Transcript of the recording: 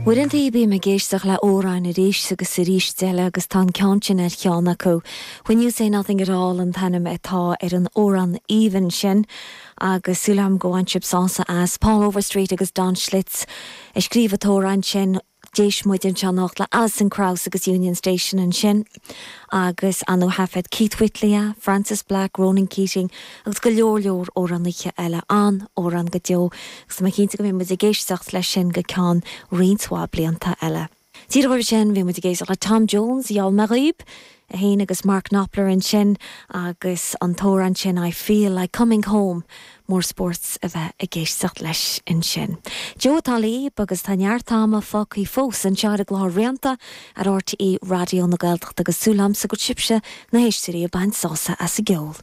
Uaireanta bím ag éisteacht le amhráin arís agus arís eile agus tá an ceann sin ar cheann acu. When You Say Nothing At All an t-ainm atá ar an amhrán aoibhinn sin agus súil agam go bhain sibh sásamh as. Paul Overstreet agus Don Schlitz a scríobh an t-amhrán sin. D'éist muid anseo anocht le Alison Krauss agus Union Station ansin agus ar ndóigh thaifead Keith Whitley é, Frances Black, Ronan Keating agus go leor leor amhránaithe eile. An-amhrán go deo agus tá mé cinnte go mbeidh muid ag éisteacht leis sin go ceann roinnt mhaith blianta eile. Díreach roimhe sin bhí muid ag éisteacht le Tom Jones, Gheall mé dhaoib, é féin agus Mark Knopfler ansin agus an t-amhrán sin I Feel Like Coming Home. Mór spórt a bheith ag éisteacht leis ansin. Joe atá libh agus tá neart ama fágtha fós anseo ar an gclár Rianta ar RTÉ Raidió na Gaeltachta agus súil agamsa go bhfuil sibhse, na héisteoirí, ag baint sásamh as an gceol.